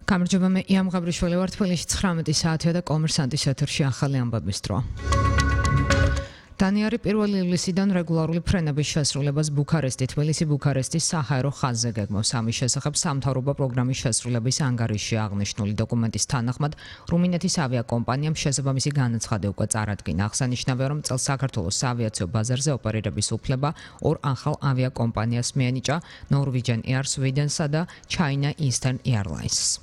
გამარჯობა, მე იამ გაბრიშვილი ვარ. თბილისში 19 საათია და კომერსანტის ეთერში ახალი ამბების დრო. დანიარი 1 ივლისიდან რეგულარული ფრენების შესრულებას თბილისი-ბუქარესტის საჰაერო ხაზზე გეგმავს. ამის შესახებ სამთავრობო პროგრამის შესრულების ანგარიშში აღნიშნული დოკუმენტის თანახმად რუმინეთის ავიაკომპანიამ შესაბამისი განაცხადი უკვე წარადგინა. აღსანიშნავია, რომ წელს საქართველოს საავიაციო ბაზარზე ოპერირების უფლება ორ ახალ ავიაკომპანიას მიენიჭა Norwegian Air Sweden-სა და China Eastern Airlines.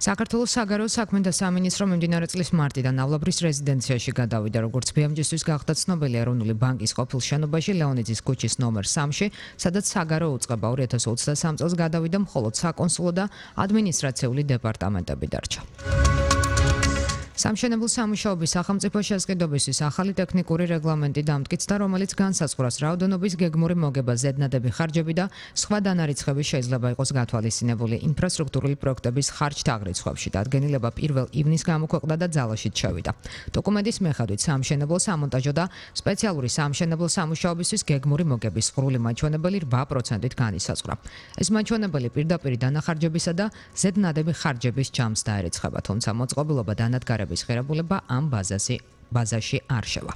საქართველოს საგარეო საქმეთა სამინისტრო მიმდინარე წლის მარტიდან ავლაბრის რეზიდენციაში გადავიდა, როგორც ბიამჯისთვის გახდა ცნობილი ეროვნული ბანკის ყოფილ შენობაში ლეონიძის ქუჩის ნომერ 3-ში, სადაც საგარეო უწყება 2023 წელს გადავიდა მხოლოდ საკონსულო და ადმინისტრაციული დეპარტამენტები დარჩა. სამშენებლო სამუშაოების სახელმწიფო შესყიდვისთვის ახალი ტექნიკური რეგლამენტი დამტკიცდა, რომელიც განსაზღვრავს რაოდენობის გეგმური მოგება, ზედნადები ხარჯები და სხვა დანარიცხები შეიძლება იყოს გათვალისწინებული ინფრასტრუქტურული პროექტების ხარჯთაღრიცხვებში. დადგენილება 1 ივნისს გამოქვეყნდა და ძალაშიც შევიდა. დოკუმენტის მიხედვით სამშენებლო, სამონტაჟო და სპეციალური სამშენებლო სამუშაოებისთვის გეგმური მოგების ღრული მაჩვენებელი 8%-ით განისაზღვრა. ეს მაჩვენებელი პირდაპირ დანახარჯებისა და ზედნადები ხარჯების ჯამს დაერიცხება, თუმცა მოწყობილობა დანადგარების ღირებულება ამ ბაზაში არ შევა.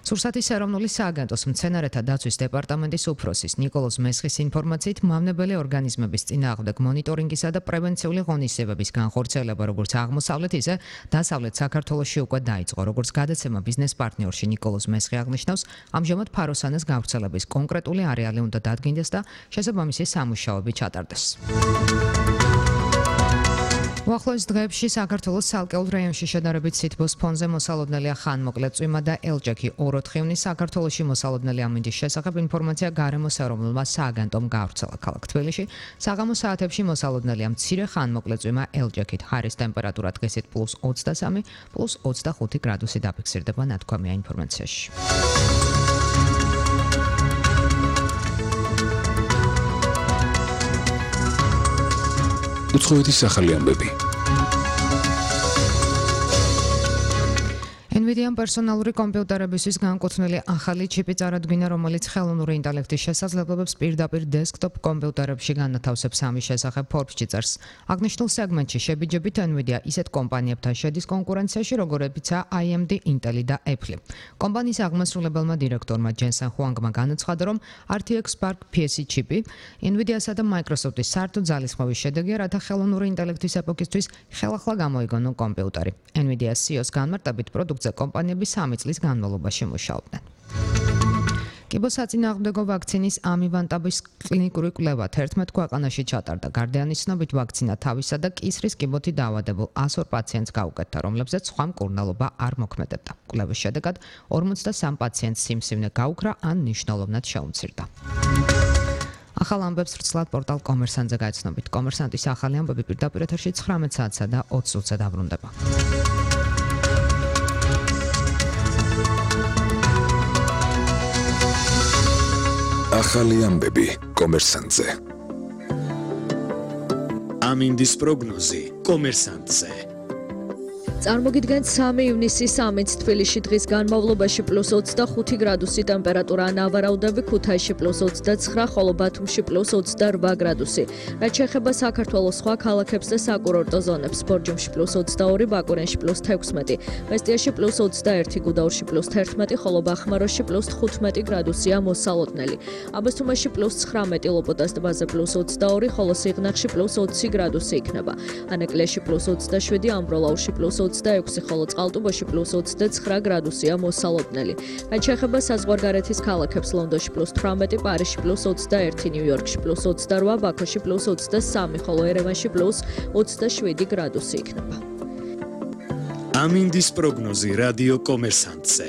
სურსათის ეროვნული სააგენტოს მცენარეთა დაცვის დეპარტამენტის უფროსის ნიკოლოზ მესხის ინფორმაციით, მავნებელი ორგანიზმების წინააღმდეგ მონიტორინგისა და პრევენციული ღონისძიებების განხორციელება როგორც აღმოსავლეთ, ისე დასავლეთ საქართველოში უკვე დაიწყო. როგორც გადაცემა ბიზნეს პარტნიორში ნიკოლოზ მესხი აღნიშნავს, ამჟამად ფაროსანას გავრცელების კონკრეტული არეალი უნდა დადგინდეს და შესაბამისი სამუშაოები ჩატარდეს. უახლოეს დღეებში საქართველოს ცალკეულ რაიონში შედარებით სითბოს ფონზე მოსალოდნელია ხანმოკლე წვიმა და ელჭექი. 2-4 საქართველოში მოსალოდნელი ამინდის შესახებ ინფორმაცია გარემოს ეროვნულმა სააგენტომ გავრცელა. ქალაქ თბილისში საღამო საათებში მოსალოდნელია მცირე ხანმოკლე წვიმა ელჭექით. ჰაერის ტემპერატურა დღისით +23, +25 გრადუსი დაფიქსირდება, ნათქვამია ინფორმაციაში. უცხოეთის ახალი ამბები. NVIDIA-მ პერსონალური კომპიუტერებისთვის განკუთვნილი ახალი ჩიპი წარადგინა, რომელიც ხელოვნური ინტელექტის შესაძლებლობებს პირდაპირ დესკტოპ კომპიუტერებში განათავსებს. ამის შესახებ Forbes-ში წერს. აღნიშნულ სეგმენტში შებიჯებით NVIDIA ისეთ კომპანიებთან შედის კონკურენციაში, როგორებიცაა AMD, Intel და Apple. კომპანიის აღმასრულებელმა დირექტორმა ჯენსენ ჰუანგმა განაცხადა, რომ RTX Spark PSE ჩიპი NVIDIA-სა და Microsoft-ის საერთო ძალისხმევის შედეგია, რათა ხელოვნური ინტელექტის ეპოქისთვის ხელახლა გამოიგონონ კომპიუტერი. NVIDIA-ს CEO-ს განმარტებით პროდუქტზე კომპანიები 3 წლის განმავლობაში მუშაობდნენ. კიბოსაწინააღმდეგო ვაქცინის ამივანტაბის კლინიკური კვლევა 11 ქვეყანაში ჩატარდა. გარდიანი ცნობით, ვაქცინა თავისა და კისრის კიბოთი დაავადებულ 102 პაციენტს გაუკეთდა, რომლებზეც სხვა მკურნალობა არ მოქმედებდა. კვლევის შედეგად 53 პაციენტს სიმსივნე გაუქრა ან მნიშვნელოვნად შეუმცირდა. ახალ ამბებს ვრცლად პორტალ კომერსანტზე გაიცნობით. კომერსანტის ახალი ამბები პირდაპირ ეთერში 19 საათსა და 20 წუთზე დაბრუნდება. ახალი ამბები კომერსანტზე. ამინდის პროგნოზი კომერსანტზე. წარმოგიდგენთ 3 ივნისის ამით თბილისში დღის განმავლობაში +25 გრადუსი ტემპერატურა, ნავარაუდები ქუთაისში +29, ხოლო ბათუმში +28 გრადუსი. რაც შეეხება საქართველოს სხვა ქალაქებს და საკურორტო ზონებს, ბორჯომში +22, ბაკურენში +16, მესტიაში +21, გუდაურში +11, ხოლო ბახმაროში +15 გრადუსია მოსალოდნელი. აბასთუმანში +19, ლოპოტას ტბაზე +22, ხოლო სიღნაღში +20 გრადუსი იქნება. ანეკლიაში +27, ამბროლაურში +26, ხოლო წყალტუბოში +29 გრადუსია მოსალოდნელი. რაც შეეხება საზღვარგარეთის ქალაქებს, ლონდონში +18, პარიზში +21, ნიუ-იორკში +28, ბაქოში +23, ხოლო ერევანში +27 გრადუსი იქნება. ამინდის პროგნოზი რადიო კომერსანტზე.